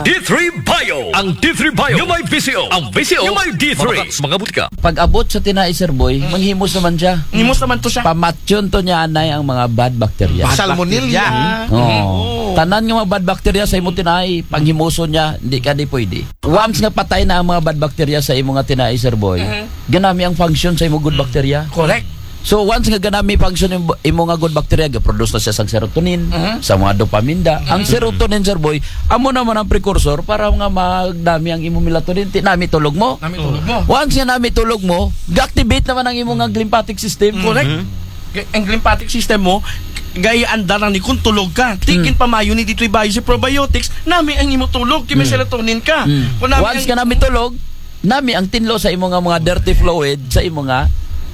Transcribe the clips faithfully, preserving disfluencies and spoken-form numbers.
D three Bio. Ang D three Bio. Yung may V C O. Ang V C O. Yung may D three. Mga, mga butika. Pag abot sa tinai, Sir Boy, manghimos naman siya. Himos naman to siya. Pamatyon to niya, anay, ang mga bad bacteria. Bad Salmonella. Bacteria. Oo. Oo. Tanan nga mga bad bacteria sa imo tinai, panghimuson niya, hindi ka di pwede. Once nga patay na ang mga bad bacteria sa imo nga tinai, Sir Boy, ganami ang function sa imo good bacteria. Correct. So once nga ganami function imo, imo nga good bacteria, ga-produce na siya sa serotonin, sa mga dopamine da. Ang serotonin, Sir Boy, amo naman ang precursor para nga magdami ang imo melatonin, ti nami tulog mo. Nami tulog mo. Once nga nami tulog mo, ga-activate naman ang imo nga lymphatic system. Correct. Ang lymphatic system mo, gaya andaran ni kung tulog ka. Tikin pamayo ni dito'y bayo si probiotics, nami ang imo tulog, kay may serotonin ka. Kung nami Once ang ka nami tulog, nami ang tinlo sa imo nga mga dirty fluid sa imo nga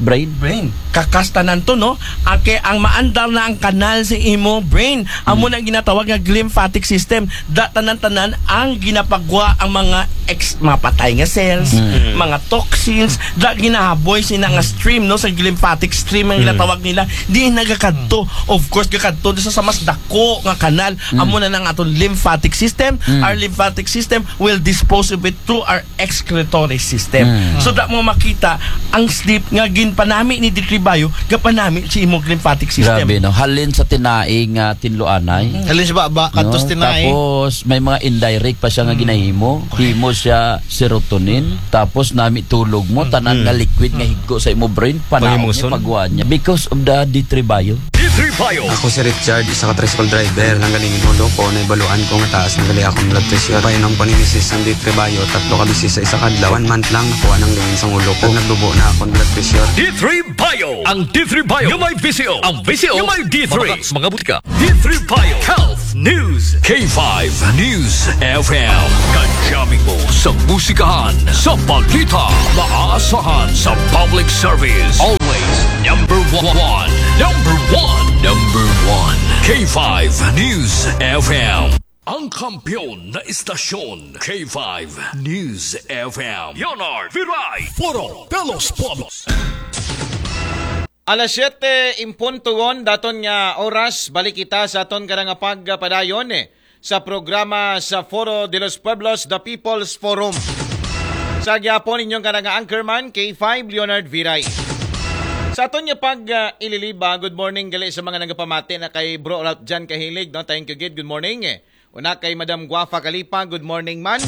brain. Brain. Kakastanan to, no? Ake ang maandar na ang kanal sa imo brain. Amo na ang ginatawag nga lymphatic system. Da tanan-tanan ang ginapagwa ang mga ex, mga patay nga cells, mga toxins, da ginahaboy sina nga stream, no, sa lymphatic stream ang ginatawag nila. Di nagakadto. Of course, gakadto sa, sa mas dako nga kanal. Amo na nang aton lymphatic system. Our lymphatic system will dispose of it through our excretory system. So, da mo makita ang sleep nga ginpanami ni D three Bio, gapanami si imong lymphatic system. Grabe, no? Halin sa tinai nga tinlo, anay. Halin sa baba, kadto sa tinai. Tapos, may mga indirect pa siya nga ginahimo. Himo siya serotonin. Tapos, nami tulog mo, tanan nga liquid nga higko sa imo brain, panahon niya, pagwaan niya. Because of the D three Bio. D three Bio. Ako si Richard, isa ka tricycle driver. Nanggaling ang ulo ko, naibaluan ko nga taas na gali akong blood pressure. Painom ko ni misis ang D three Bio, tatlo ka beses sa isa ka adlaw. One month lang, nakuha nang lingin sa ulo ko. Nagdubo na akong blood pressure. D three Bio. Ang D three Bio. Yung may V C O. Ang V C O. Yung may D three. Mga, mga butika. D three Bio. Health News. K five News F M. Kadyamin mo sa musikahan, sa balita, maaasahan sa public service. Always number one. Number one. Number one. K five News F M. Ang kampiyon na istasyon, K five News F M. Leonard Viray. Foro de los Pueblos. Alas siyete en punto, daton nga oras, balik kita sa aton karang pagpadayon, eh, sa programa sa Foro de los Pueblos, The People's Forum. Sa gyapon inyong karang anchorman, K five Leonard Viray. Sa aton nga pag, ah, ililiba, good morning gali sa mga nagapamati na kay Bro Ralph Jan Kahilig, no? Thank you, gid. Good morning, eh. Una kay Madam Guafa Kalipa, good morning man.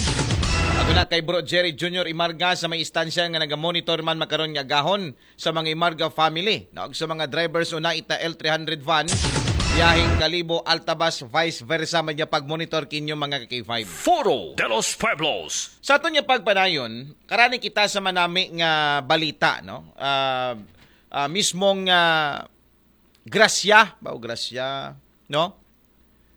At una kay Bro Jerry Junior Imarga sa may istansya nga nagamonitor man makaron nga agahon sa mga Imarga family, no? Ug sa mga drivers una ita L three hundred van, biyaheng Kalibo, Altabas, vice versa, may pag-monitor kinyo mga K five. Foro de los Pueblos. Sa aton nga pagpadayon, karani kita sa manami nga balita, no? Ah, ah, mismong, ah, grasya, ba o grasya, no?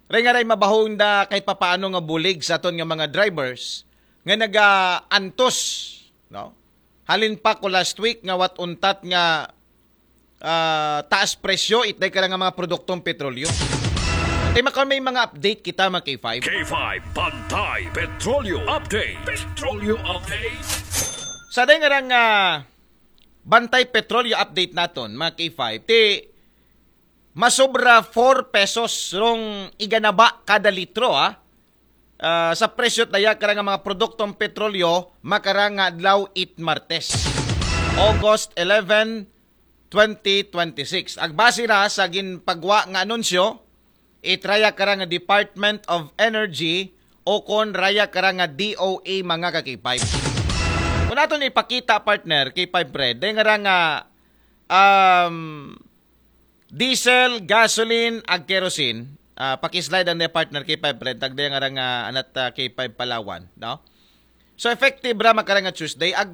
Ray nga ray mabahong da kahit papaano nga bulig sa aton nga mga drivers nga nagaantos, no? Halin pa ko last week nga wat untat nga, ah, taas presyo itday ka nga mga produktong petrolyo. Tay makaw may mga update kita, mga K five. K five Bantay Petrolyo Update. Petrolyo Update. Sa day nga rang, ah, Bantay Petrolyo Update naton, mga K five, ti masobra four pesos rong iganaba kada litro, ha. Ah, sa presyo daya karang mga produktong petrolyo, makarang nga adlaw it Martes, August eleven, twenty twenty-six. Agbase ra sa ginpagwa nga anunsyo, it raya karang Department of Energy o kon raya karang D O A, mga ka K five. Kung aton ipakita, partner, K five Fred, day nga rang, ah, um, diesel, gasoline, ag kerosene. Ah, pakislide ang day, partner, K five Fred, tagday nga rang, ah, anat, ah, K five Palawan, no? So, effective ra makarang nga Tuesday, ag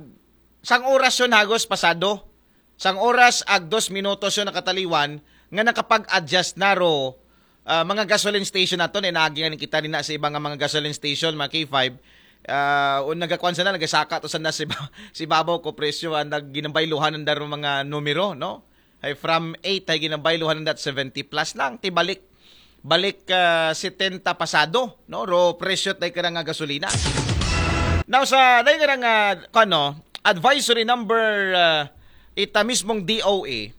sang oras yon hagos pasado. Sang oras ag dos minutos yon nakataliwan nga nakapag-adjust na ro, ah, mga gasoline station naton, eh, naagi nga kita din na sa iba nga mga gasoline station, mga K five. Ah, o nagakuan sana, nagasaka to sana si ba-, si babaw ko presyo, ang nag-, ginabayluhan ang daro mga numero, no? Ay from eight, ay ginabayluhan ang dat seventy plus lang, tibalik balik, ah, setenta pasado, no? Ro presyo tay ka nga gasolina. Now, sa day ka nga, ano, advisory number, ah, ita mismong D O A,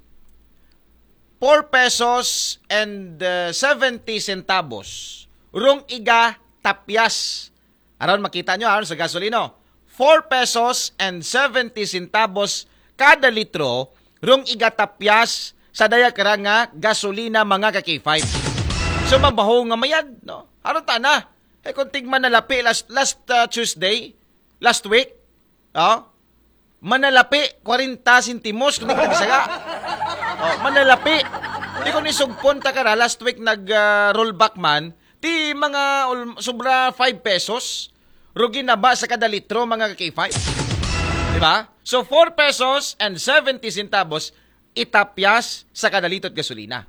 four pesos and, ah, seventy centavos. Rong iga tapyas Aron makita nyo, aron sa gasolino. Four pesos and seventy centavos kada litro rong igatapyas sa daya kara nga gasolina, mga ka-K five. So, mabaho nga mayad, no? Aron ta na. Eh, kung tigman na lapi last, last uh, Tuesday, last week, oh, manalapi, kwarenta sentimos kung nagtagsaga. Oh, manalapi. Di ko ni sugpon ta kara, last week nag uh, rollback man, ti mga ul- sobra five pesos, rugi na ba sa kada litro, mga ka-K five? Di ba? So, four pesos and seventy centavos itapyas sa kada litro't gasolina.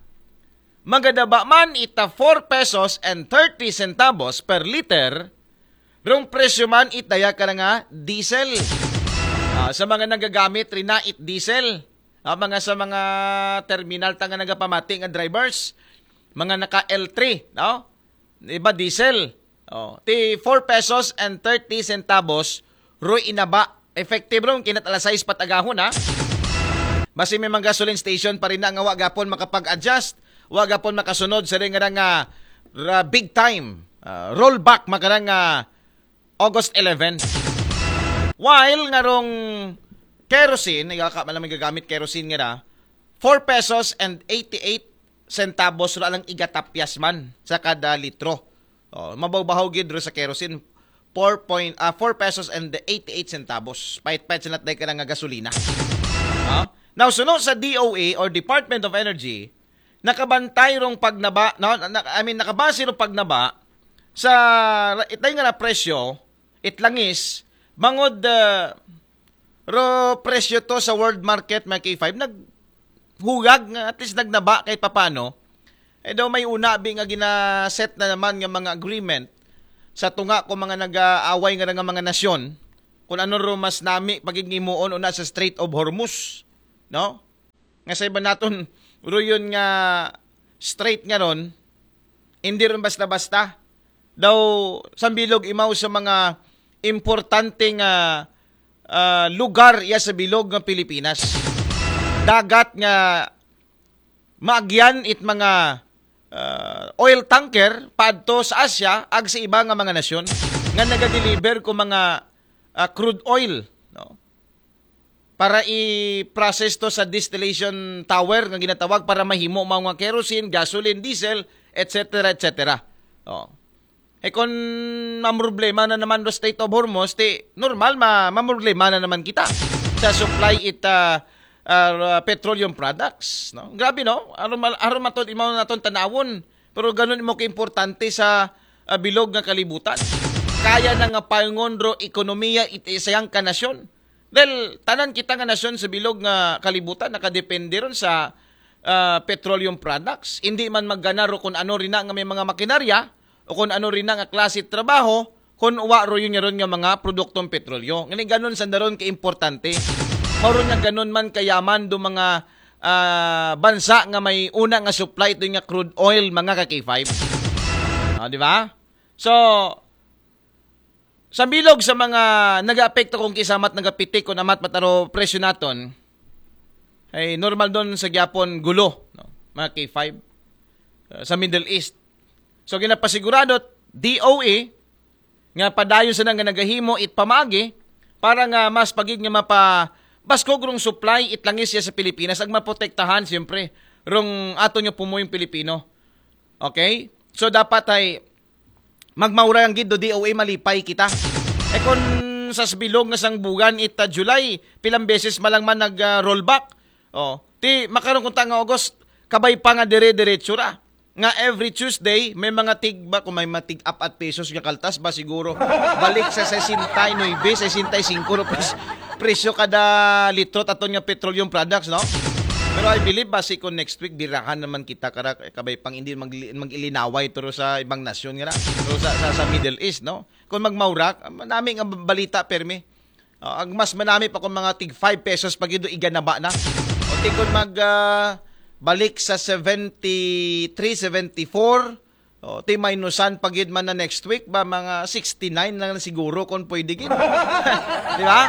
Magadaba man ita four pesos and thirty centavos per liter, rong presyo man itaya ka na nga diesel. Ah, sa mga nagagamit rin na it diesel, ah, mga sa mga terminal ta nga nagapamati nga drivers, mga naka L three, no? Iba diesel. Oh, ti four pesos and thirty centavos, roy inaba. Effective ron, kinat alas sais patagahon, ha? Basi may mga gasoline station pa rin na nga wa gapon makapag-adjust, wa gapon makasunod sa rin nga nga ra- big time uh, rollback makarang nga August eleven. While nga rong kerosene, igaka man lang may gagamit kerosene nga ra, four pesos and eighty-eight centavos ra lang igatapyas man sa kada litro. Oh, mabaw-bahaw gid ro sa kerosene, four point, ah, four pesos and eighty-eight centavos. Pait-pait sa natday ka nga gasolina. Ah? Now, suno sa D O E or Department of Energy, nakabantay rong pagnaba, no? Na, I mean, nakabase rong pagnaba sa itay nga na presyo, itlangis, bangod uh, ro presyo to sa world market, mga K five, naghugag nga at least nagnaba kahit papano. Eh daw may una bi nga ginaset na naman nga mga agreement sa tunga ko mga nag-aaway nga nga mga nasyon kung ano ro mas nami pagignimuon una sa Strait of Hormuz, no? Nga sa iba naton, ruyon nga straight nga ron, hindi ron basta-basta. Daw, sa bilog imaw sa mga importante nga ah, lugar iya sa bilog nga Pilipinas. Dagat nga maagyan it mga ah, oil tanker paadto sa Asia ag sa iba nga mga nasyon nga nagadeliver ko mga ah, crude oil, no? Para i-process to sa distillation tower nga ginatawag para mahimo mao nga kerosene, gasoline, diesel, et cetera, et cetera. Oh. Eh kung mamroblema na naman do Strait of Hormuz, ti normal ma mamroblema na naman kita sa supply it ah, ah, petroleum products, no? Grabe, no? Aron mal- aron matod imaw naton tanawon. Pero ganun imo kaimportante sa ah, bilog nga kalibutan. Kaya na nga paingon ro ekonomiya it isayang ka nasyon. Dahil tanan kita nga nasyon sa bilog nga kalibutan nakadepende ron sa ah, petroleum products. Hindi man maggana ro kung ano rin na nga may mga makinarya o kung ano rin na nga klase trabaho kung wa ro yun ron nga mga produktong petrolyo. Ngani ganun sa daron ka importante. Mao ron nga ganun man kayaman do mga ah, bansa nga may una nga supply ito nga crude oil, mga ka K five. Ah, di ba? So, sa bilog sa mga nagaapekto kung kisamat nagapitik kung amat mataro presyo naton, ay normal doon sa gyapon gulo, no? Mga K five uh, sa Middle East. So ginapasigurado D O E nga padayon sa nga nagahimo it pamagi para nga mas pagid nga mapa baskog rong supply it langis siya sa Pilipinas ag maprotektahan siyempre rong ato nyo pumoyong Pilipino. Okay? So dapat ay magmaura ang gid do D O A malipay kita. E kon sa sbilog nga sangbugan ita July, pilang beses malang man nag ah, rollback. Oh, ti makaron kung ta nga August, kabay pa nga dire-diretso ra. Nga every Tuesday, may mga tig ba, kung may mga tig apat pesos nga kaltas ba siguro. Balik sa sesenta y nuebe, sesenta y cinco rupees presyo kada litro taton nga petroleum products, no? Pero I believe basi kung next week birahan naman kita kara kabay pang hindi mag mag-ilinaway turo sa ibang nasyon nga na. Turo sa, sa, sa Middle East, no? Kung magmaurak, manami nga balita permi. Ah, ag mas manami pa kung mga tig five pesos pa gid iganaba na. O ti kung mag ah, balik sa seventy-three, seventy-four, o ti minusan pa gid man na next week ba mga sixty-nine lang siguro kung pwede gid. Di ba?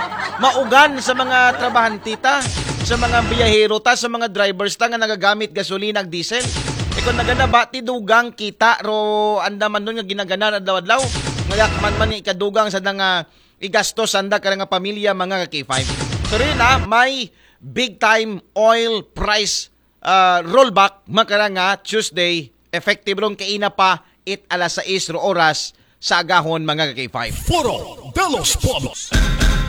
Maugan sa mga trabahante ta, sa mga biyahero ta, sa mga drivers ta nga nagagamit gasolina ag diesel. E kung naganaba ti dugang kita ro anda man nun nga ginaganan adlaw-adlaw. Nga yakman man ni ikadugang sa nga igasto sanda ka nga pamilya, mga ka-K five. So rin na, may big time oil price ah, rollback, makara nga Tuesday, effective ron kaina pa it alas sais ro oras sa agahon, mga ka-K five. Foro de los Pueblos.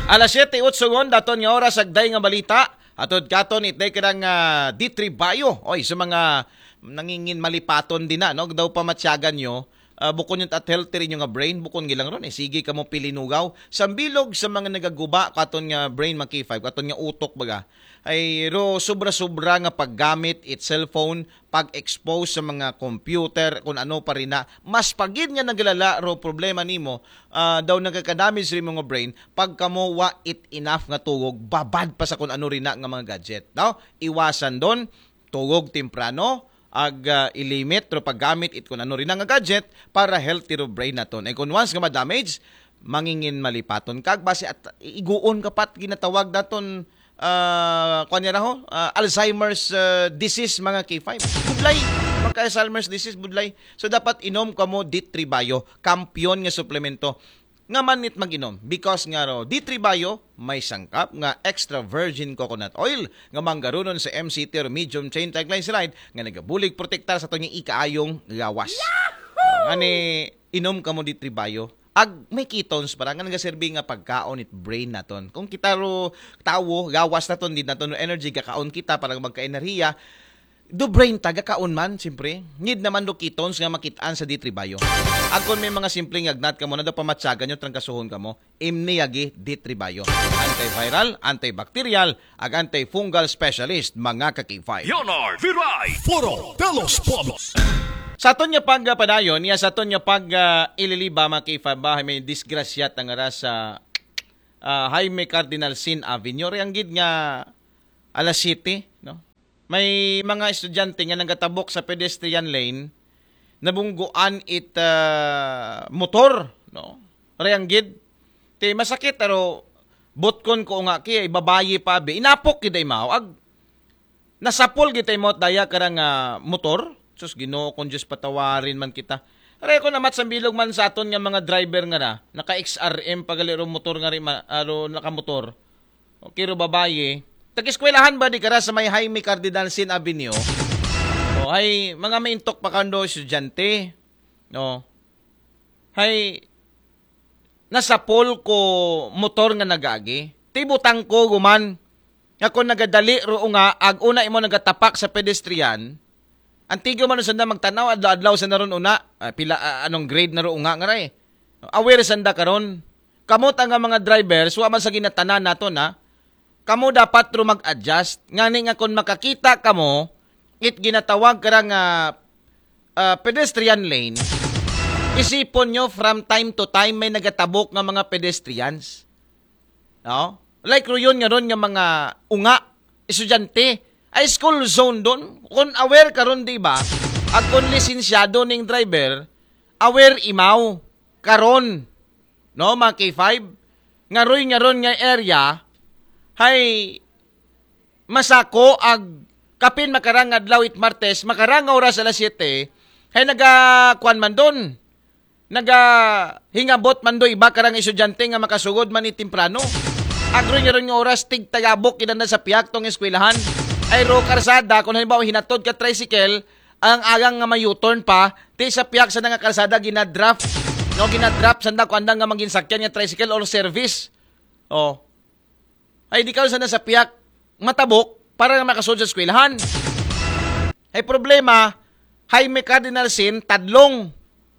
Alas siyete otso ngon daton nga oras, agday nga balita. Atod katon itday kadang ah, D three Bio. Oy, sa mga nangingin malipaton din na, no? Daw pamatyagan nyo, ah, bukon yung at healthy rin yung nga brain, bukon gilang ron, eh. Sige ka mo pilinugaw. Sambilog sa mga nagaguba, katon nga brain, mga K five, katon nga utok, baga. Ay, ro, sobra-sobra nga paggamit it cellphone, pag-expose sa mga computer, kung ano pa rin na, mas pagid nga naglala ro problema nimo, ah, daw nagkakadamage rin mga brain, pag kamo wa it enough nga tugog, babad pa sa kung ano rin na nga mga gadget. No? Iwasan don, tugog temprano, ag ah, ilimit ro paggamit it kung ano rin na nga gadget para healthy ro brain naton. Ay kung once nga ma-damage, mangingin malipaton kag basi at iguon ka pat ginatawag daton ah, kuan niya raho, ah, Alzheimer's ah, disease, mga K five. Budlay, magka-Alzheimer's disease, budlay. So dapat inom kamo D three Bio, kampiyon nga suplemento. Nga manit mag-inom because nga ro D three Bio may sangkap nga extra virgin coconut oil nga manggarunon sa M C T or medium chain triglyceride nga nagabulig protektar sa atong ikaayong gawas. Ani inom kamo D three Bio. Ag may ketones para nga nagaserbi nga pagkaon it brain naton. Kung kita ro tawo, gawas naton, di naton energy, gakaon kita para magka-enerhiya. Do brain ta, gakaon man, siyempre. Need naman do ketones nga makitaan sa D three Bio. Ag kung may mga simpleng agnat kamo na do pamatyagan nyo, trangkasuhon kamo, imni agi D three Bio. Antiviral, antibacterial, ag antifungal specialist, mga ka-K five. Leonard Viray, Foro de los Pueblos. Sa aton nga pagpadayon, niya sa aton nga pag ah, ililiba, mga K five, bahay may disgrasya tangara sa ah, Jaime Cardinal Sin Avenue. Ri ang gid nga alas siyete, no? May mga estudyante nga nagatabok sa pedestrian lane, nabungguan it ah, motor, no? Ri ang gid. Ti masakit, aro, butkon ko nga ki, ay babayi pa, bi. Inapok gid ay mao. Ag, nasapol gid ay mao, daya karang ah, motor. Sus, Ginoo kong Diyos, patawarin man kita. Aray ko namat sambilog man sa aton nga mga driver nga na, naka X R M pagali ro motor nga ri, ma- aro nakamotor. Okay ro babayi. Tag-eskwelahan ba di kara sa may Jaime Cardinal Sin Avenue? O, ay, mga maintok pa kando estudyante. No. Hay, nasapol ko motor nga nagagi. Tibutang ko guman. Nga kung nagadali ro nga, ag una imo nagatapak sa pedestrian, antigo man sa na magtanaw, adlaw-adlaw sa naron una, ah, pila, ah, anong grade na ro nga nga ray. Aware sanda karon. Kamot ang mga drivers, wa man sa ginatanan nato na. Kamo dapat ro mag-adjust. Ngani nga kung makakita kamo, it ginatawag kara nga ah, pedestrian lane, isipon nyo from time to time may nagatabok nga mga pedestrians. No? Like ruyon nga ron nga mga unga, estudyante, ay school zone don. Kung aware karon, di ba? Ag kung lisensyado ning driver, aware imaw karon, no, mga K five, nga roy nga ron nga area, hay masako ag kapin makarang adlaw it Martes, makarang nga oras alas siyete, hay naga kuan man don. Naga hingabot man do iba karang estudyante nga makasugod man ni temprano. Agroy nga ron nga oras tig tagabok kinanda sa piyak tong eskwelahan. Ay ro karsada, kung halimbawa hinatod ka tricycle, ang agang nga may U-turn pa, ti sa piyak sa nga karsada ginadraft. No, ginadraft sanda kuanda nga manginsakyan nga tricycle or service. Oh. Ay di karon sa nasa piyak matabok para nga makasud sa eskwelahan. Ay problema, Jaime Cardinal Sin, tadlong.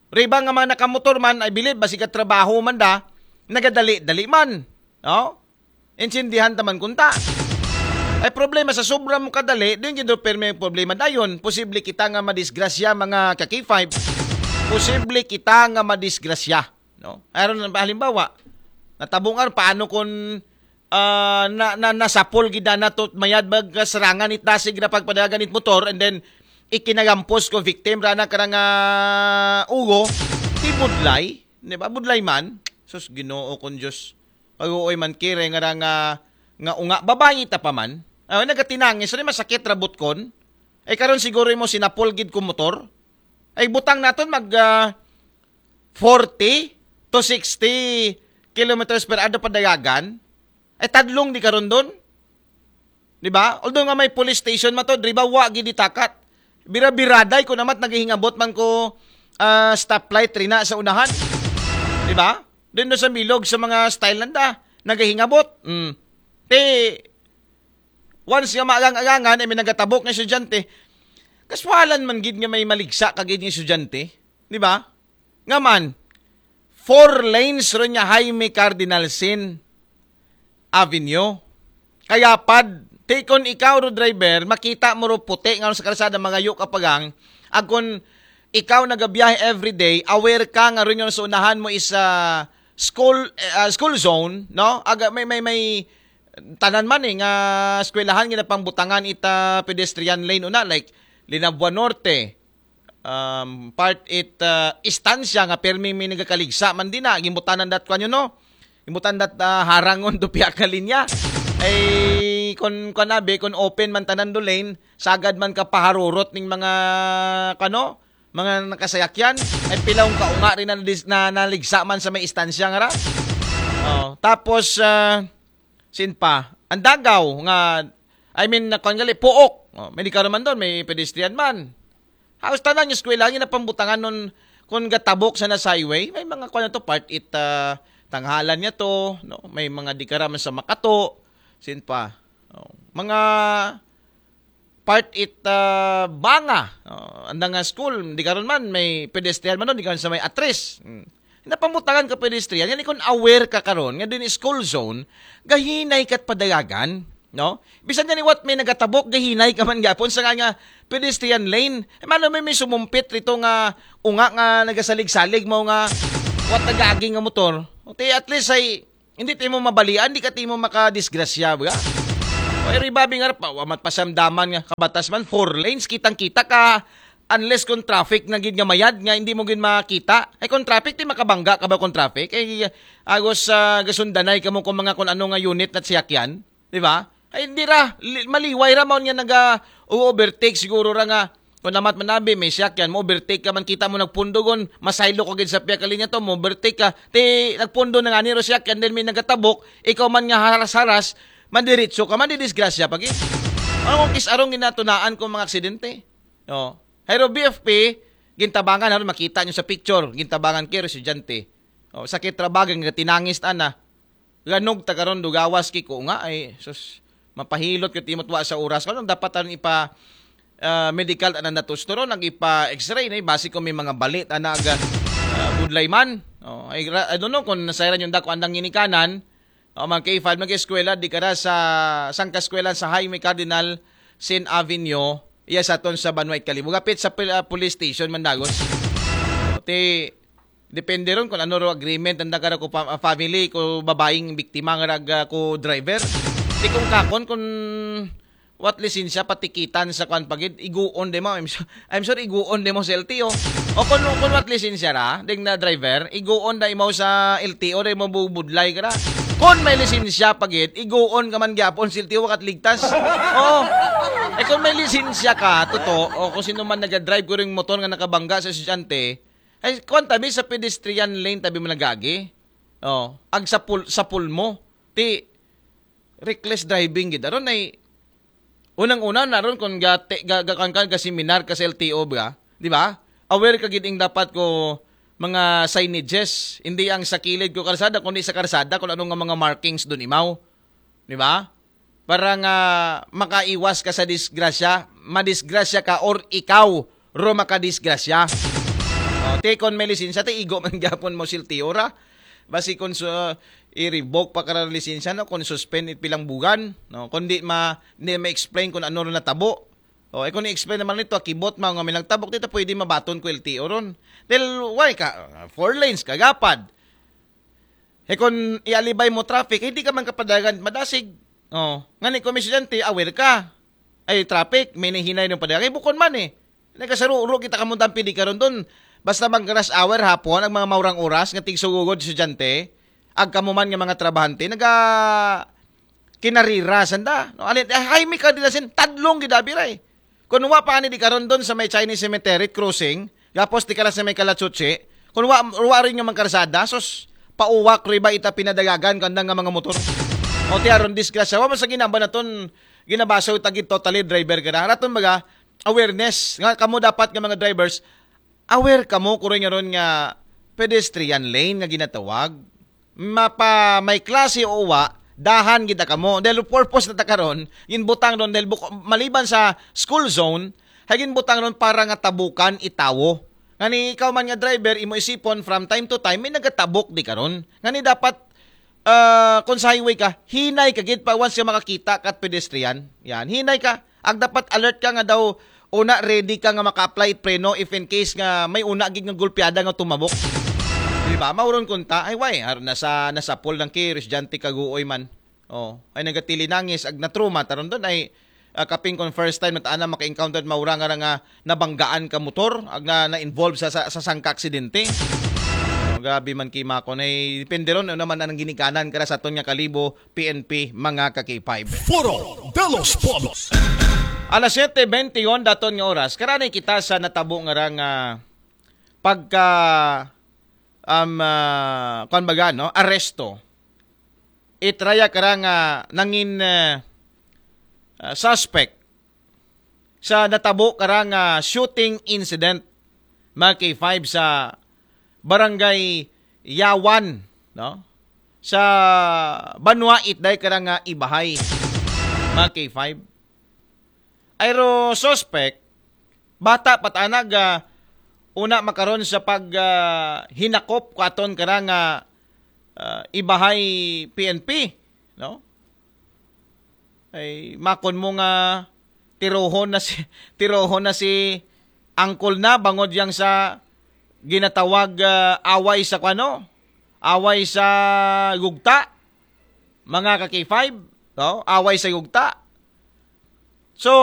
Riba nga mga nakamotor man, I believe, basig ka trabaho man da, nagadali-dali man. No? Intindihan taman kunta. Ay problema sa sobra mo kadali, din gid permi ang problema dayon. Posible kita nga madisgrasya, mga ka-K five. Posible kita nga madisgrasya, no? Aron halimbawa, natabungar paano kung ah, na, na nasapol gid na to mayad bag serangan it dasig na pagpadagan it motor and then ikinagampos ko victim ra na karang ah, ugo, ti budlay, di ba? Budlay man. Sus, Ginoo kon Diyos. Pag-uoy man kire nga ra nga, nga unga, babayi ta pa man. Ah, nagatinangis, so, masakit ra butkon. Ay karon siguro mo sinapol gid ko motor. Ay butang naton mag ah, forty, two sixty kilometers per hour padayagan, ay tadlong di karon don. Di ba? Although nga may police station man to, di ba, wa gid itakat. Bira-biraday ko namat nagahingabot man ko ah, stoplight rina sa unahan. Di ba? Doon sa bilog sa mga style nanda, nagahingabot. Mm. Te, once nga maagang-agangan, ay may nagatabok nga estudyante, kaswalan man gid nga may maligsa ka gid nga estudyante. Di ba? Nga man, four lanes ron nga Jaime Cardinal Sin Avenue. Kaya pad, te kon ikaw ro driver, makita mo ro puti nga sa kalsada, mangayo ka pagang, ag kon ikaw nagabiyahe everyday, aware ka nga ron yung sa unahan mo is ah, school ah, school zone, no? Aga may may may tanan man eh nga eskwelahan nga napangbutangan ita pedestrian lane una, like Linabua Norte, um, part it ah, Estancia nga permi may nagakaligsa man din na, gimutanan dat kwan yun, no? Gimutan dat ah, harangon do piya ka linya. Ay kon kanabi, kon open man tanan do lane, sagad man ka paharurot ning mga kano, mga nakasayakyan, ay pilawng kaunga rin na, na naligsa man sa may Estancia nga ra. Oh, tapos ah, sin pa, ang Dagaw nga, I mean, na gali, Puok. Oh, may di ka naman doon, may pedestrian man. Halos tanan yung eskwela, yung napambutangan nun, kung gatabok sa nas highway, may mga kwan na to, part it ah, tanghalan niya to, no? May mga di ka raman sa makato, sin pa. Oh, mga part it ah, banga. Oh, andang nga school, di karon man, may pedestrian man nun, di karon sa may atris. Hmm. Napamutangan ka pedestrian, yan ikon aware ka karon, nga din school zone, gahinay kat padayagan, no? Bisan yan what may nagatabok, gahinay ka man gapon sa nga, nga pedestrian lane. Eh, mano may, may sumumpit rito nga, unga nga nagasalig-salig mo nga, what nagaaging nga motor. O, te, at least ay, hindi timo mabalian, di ka timo makadisgrasya, ba? O, iri babi nga pa, wamat pasamdaman nga, kabatas man, four lanes, kitang-kita ka, unless kung traffic na gid nga mayad, nga hindi mo gid makita. Ay, kung traffic, di makabangga ka ba kung traffic? Ay, agos sa gasundanay ka mo kung mga kung ano nga unit na siyakyan, di ba? Ay, hindi ra, li- maliway ra, maon nga naga, overtake siguro ra nga, kung namat manabi, may siyakyan, mo overtake ka man, kita mo nagpundugon, masaylo ko gid sa piya ka linya to, mo overtake ka, ti nagpundo na nga niro siyakyan, then may nagatabok, ikaw man nga haras-haras, mandiritso ka, mandidisgrasya pa gid. Ano kung kisarong ginatunaan ko mga aksidente? Oh. Hayro B F P, gintabangan, haron makita nyo sa picture, gintabangan kay estudyante. Oh, sakit ra baga nga tinangis ta na. Ganog ta karon, dugawas kay ko nga ay sus, mapahilot ka timot wa sa oras. Kanang dapat taron ipa ah, medical tanan na tusto ron, nag ipa x-ray na basi ko may mga balit ana aga ah, budlay man. Oh, ay ra- I don't know kung nasayran yung dako andang ginikanan. Oh, mga K five, mag-eskwela di kara sa sangka eskwela sa Jaime Cardinal Sin Avenue, iya sa ton sa Banwait Kalibo, gapit sa pil- ah, police station man dagos. Oh, ti depende ron kung ano ro agreement ang dagara ko pa- family ko babaeng biktima nga raga ko driver. Di kung kakon kung what lisensya patikitan sa kwan pagid iguon de mo. I'm sure, I'm sure iguon de mo sa L T O. O kung, kung what lisensya ra ding na driver, iguon da imo sa L T O de mo bubudlay ka ra. Kung may lisensya pagid, iguon ka man gyapon sa L T O kat ligtas. Oo. Eh kung may lisensya ka, totoo, o kung sino man nagadrive ko ring motor nga nakabangga sa estudyante, ay, kuwan tabi sa pedestrian lane tabi mo nagagi. Oh, ag sa pul sa pulmo. Ti reckless driving gid aron ay unang-una na ron kung ga, te, ga, ga, kan, kan, ga seminar ka sa L T O ba, di ba? Aware ka gid ing dapat ko mga signages, hindi ang sa kilid ko karsada kundi sa karsada kung ano nga mga markings doon imaw. Di ba? Para nga makaiwas ka sa disgrasya, madisgrasya ka or ikaw ro makadisgrasya. O, te kon may lisensya, te igo man gyapon mo silti ora. Basi kon su- i-revoke pa ka ng lisensya, no, kon suspend it pilang bugan, no, kon di ma di ma-explain kung ano ron natabo. O, eh, kung i-explain naman nito, akibot man nga may nagtabok dito, pwede mabaton ko L T O ron. Dahil, why ka? Four lanes, kagapad. Eh, kung ialibay mo traffic, hindi ka man kapadagan madasig. Oh, nga ni kung may estudyante, aware ka. Ay, traffic, may nahinay ng padagan. Eh, bukon man eh. Nagkasaruro kita kamong dampi di karon doon. Basta mag rush hour hapon, ang mga maurang oras, nga tigsugugod estudyante, ag kamo man nga mga trabahante, naga kinarira, sanda. No? Alin, eh, Jaime Cardinal Sin, tadlong gidabi ray. Kung wa pa ani di karon doon sa may Chinese Cemetery crossing, gapos di ka lang sa may Kalachuchi, kung wa, wa rin yung mga karsada, sus, pauwak ri ba ita pinadagagan kanda nga mga motor. O ti aron disgrasya. Wa man sa ginaba naton ginabaso tagid totally driver ka na. Raton baga, awareness. Nga kamo dapat nga mga drivers, aware kamo kuroy nga ron nga pedestrian lane nga ginatawag. Mapa may klase o wa, dahan gid kamo. Dahil purpose na ta karon, ginbutang ron dahil buko, maliban sa school zone, hay ginbutang ron para nga tabukan itawo. Ngani ikaw man nga driver, imo isipon from time to time may nagatabok di karon. Ngani dapat ah, kung sa highway ka, hinay ka gid pa once ka makakita kat pedestrian. Yan, hinay ka. Ag dapat alert ka nga daw una ready ka nga maka-apply it preno if in case nga may una gid nga gulpiada nga tumabok. Di ba? Mauron kunta, ay why? Ar nasa nasa pool lang ki residente kaguoy man. Oh, ay nagatilinangis ag natruma taron don ay ah, kaping kon first time na taana maka-encounter maura nga nga nabanggaan ka motor ag na na-involve sa sa, sa sangka aksidente. Oh, grabe man kay makon ay depende ron ano man ang ginikanan kara sa aton nga kalibo P N P mga ka K five. Foro de los Pueblos. Alas siyete bente yon daton nga oras, karanay kita sa natabo nga ra nga pagka um, ah, kuwan baga, no? Aresto. Itraya kara nga nangin ah, ah, suspect sa natabo kara nga shooting incident mga K five sa barangay Yawan, no? Sa banwa itday kara nga Ibahay mga K five. Ayro suspect, bata patanag ah, una makaron sa pag ah, hinakop ko aton kara nga ah, Ibahay P N P, no? Ay makon mo nga tirohon na si tirohon na si angkol na bangod yang sa ginatawag ah, away sa kwano, away sa gugta, mga ka K five, no? Away sa gugta. So,